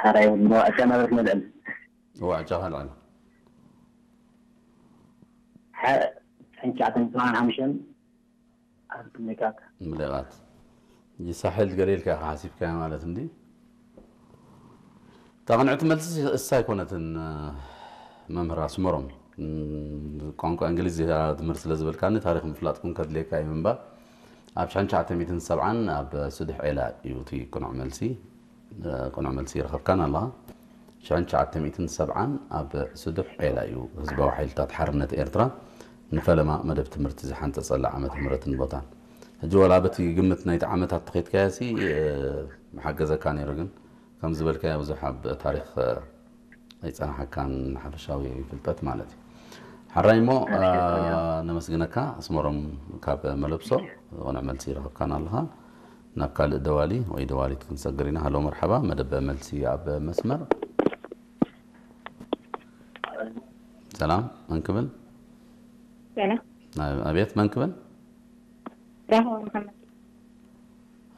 ኣራይ እሞ ዕጫ ናበርክ ነልዕል። እዋ ዕጫ ካልዕል። ሓ ዕንቻዕተን ሰብዓን ሓሙሽተን ኣብ ምልቃት። ምልቃት ይሳሕል ገለ ኢልካ ኢኻ ሓሲብካዮ ማለት እንዲ። እታ ቅንዕቲ መልሲ እሳ ኣይኮነትን። መምህር ኣስመሮም፣ ቋንቋ እንግሊዝ ትምህርቲ ስለ ዝበልካኒ ታሪክ ምፍላጥ ኩን ከድልየካ እዩ ምንባር። ኣብ ሽሕን ትሽዓተ ሚእትን ሰብዓን ኣብ ስዱሕ ዔላ እዩ እቲ ቅኑዕ መልሲ። ቅኑዕ መልሲ ይረኸብካን ኣለኻ። ሽሕን ትሽዓተ ሚእትን ሰብዓን ኣብ ስዱሕ ዔላ እዩ ህዝባዊ ሓይልታት ሓርነት ኤርትራ ንፈለማ መደብ ትምህርቲ ዝሓንጸጸላ ዓመተ ምህረትን ቦታን። ሕጂ ወላ በቲ ግምት ናይቲ ዓመታት ተኸይድካዮ ሲ፣ እ፣ ምሓገዘካ ነይሩ፣ ግን ከም ዝበልካዮ ብዙሕ ኣብ ታሪኽ፣ እ፣ ኣይጸናሓካን ሓፈሻዊ ፍልጠት ማለት እዩ። ሓራይ እሞ፣ እ፣ ነመስግነካ ኣስመሮም ካብ መለብሶ። ቅኑዕ መልሲ ይረኸብካን ኣለኻ። ናብ ካልእ ደዋሊ ወይ ደዋሊት ክንሰግር ኢና። ሃሎ መርሓባ፣ መደብ መልሲ ኣብ መስመር። ሰላም፣ መን ክብል? ሰላም። ናይ ኣቤት፣ መን ክብል? ራህዋ መሓመድ።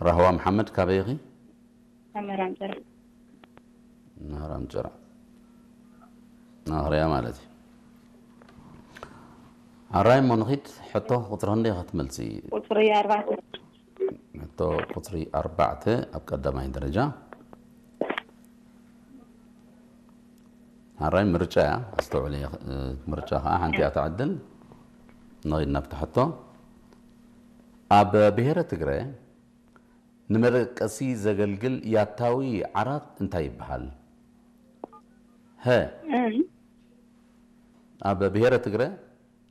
ራህዋ መሓመድ፣ ካበይ ኢኺ? ኣመራም ጭራ። ናህራም ጭራ። ናህርያ ማለት እዩ። ኣራይ እሞ ንኺድ፣ ሕቶ ቁጽሪ ክንደይ ኢኻ ትመልሲ? ቁጽሪ ኣርባዕተ። ሕቶ ቁጽሪ ኣርባዕተ ኣብ ቀዳማይ ደረጃ። ኣራይ ምርጫ እያ፣ ኣስተውዕሊ፣ እ፣ ምርጫ ኸዓ ሓንቲ እያ ትዕድል። ንኺድ ናብቲ ሕቶ። ኣብ ብሄረ ትግረ ንመደቀሲ ዘገልግል ያታዊ ዓራት እንታይ ይበሃል? ሀ፣ እም፣ ኣብ ብሄረ ትግረ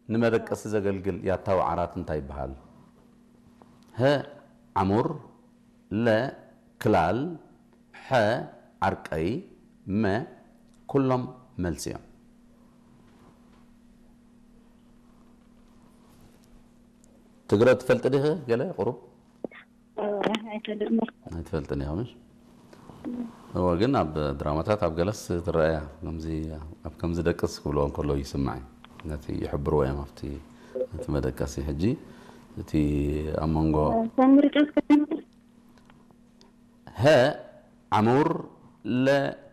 ንመደቀሲ ዘገልግል ያታዊ ዓራት እንታይ ይበሃል? ሀ፣ ዓሙር፣ ለ፣ ክላል፣ ሐ፣ ዓርቀይ፣ መ፣ ኩሎም መልሲ እዮም። ትግረ ትፈልጢ ዲኺ ገለ ቁሩብ? ኣይፈልጥን። ኣይትፈልጥን ኢኻ ምሽ? እወ፣ ግን ኣብ ድራማታት ኣብ ገለስ ትረኣያ። ከምዚ፣ ኣብ ከምዚ ደቅስ ክብልዎ እንከሎ ይስማዕ እዩ። ነቲ ይሕብርዎ እዮም ኣብቲ፣ ነቲ መደቀሲ። ሕጂ እቲ ኣብ መንጎ ከም ምርጫ እስከ ሀ ዓሙር፣ ለ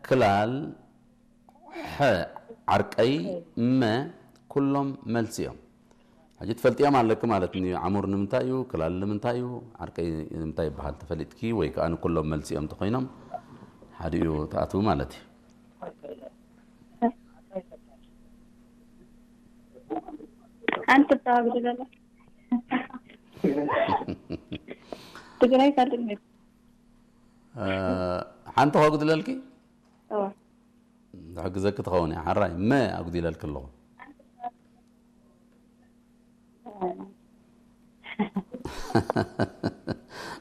ክላል፣ ሐ ዓርቀይ፣ መ ኩሎም መልሲ እዮም። ሕጂ ትፈልጥዮም ኣለኪ ማለት እዩ። ዓሙር ንምንታይ እዩ? ክላል ንምንታይ እዩ? ዓርቀይ ንምንታይ ይበሃል? ተፈሊጥኪ ወይ ከዓ ንኩሎም መልሲ እዮም ተኮይኖም ሓደ እዩ ትኣትዉ ማለት እዩ። ሓንቲ ተዋግዲ ዘላ ትግራይ ካልእ እ፣ ሓንቲ ከጉድለልኪ? እወ። ዝሕግዘኪ ትኸውን እያ። ሓራይ መ ኣጉዲለልኪ ኣለኹ።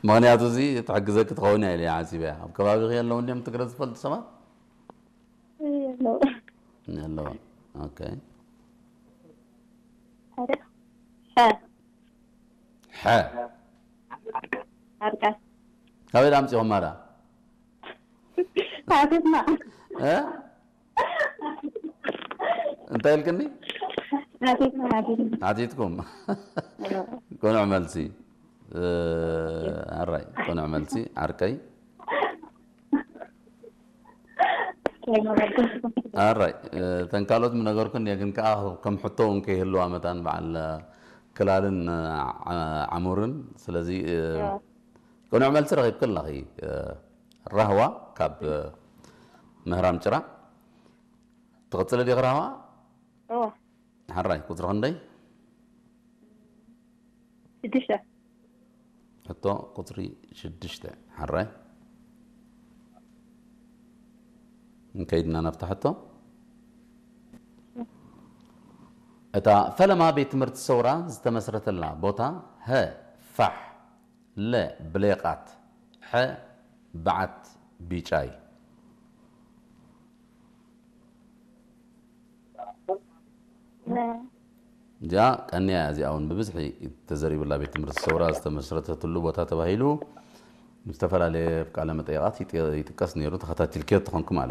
ምኽንያቱ እዚ ትሕግዘኪ ትኸውን እያ ኢለ እየ ሓሲበ እያ። ኣብ ከባቢኺ ኣለዉ እንድዮም ትግረ ዝፈልጡ ሰባት? የለዉ። ኣለዉ። ኦኬ። ሓደ። ሐ። ሐ። ዓርቃይ። ካበይ ዳ ኣምፂኹማ ዳ? ሓቲትና። እ? እንታይ ኢልክኒ? ሓቲትና፣ ሓቲትና። ሓቲትኩም? ቅኑዕ መልሲ። እ፣ ኣራይ፣ ቅኑዕ መልሲ ዓርከይ። ኣራይ፣ እ፣ ተን ካልኦት ምነገርኩን እየ፣ ግን ከኣ ከም ሕቶ እውን ከይህልዋ መታን በዓል፣ እ፣ ክላልን፣ እ፣ ዓ-፣ ዓሙርን። ስለዚ፣ እ፣ ቅኑዕ መልሲ ረኺብኪ ኣለኺ። እ፣ ራህዋ ካብ፣ እ፣ ምህራም ጭራ። ትቕጽሊ ዲኺ ራህዋ? እወ። ሓራይ፣ ቁጽሪ ክንደይ? ሽዱሽተ። ሕቶ ቁጽሪ ሽዱሽተ። ሓራይ። እንከይድና ናብታ ሕቶ። እታ ፈለማ ቤት ትምህርቲ ሰውራ ዝተመስረተላ ቦታ፣ ሀ፣ ፋሕ፣ ለ፣ ብሌቓት፣ ሐ፣ በዓት ቢጫይ። እዚኣ ቀንያ እያ። እዚኣ እውን ብብዝሒ ተዘሪብላ ቤት ትምህርቲ ሰውራ ዝተመስረተትሉ ቦታ ተባሂሉ ዝተፈላለየ ቃለ መጠይቓት ይጥ-፣ ይጥቀስ ነይሩ። ተኸታቲልክዮ ተኾንኩ ማለት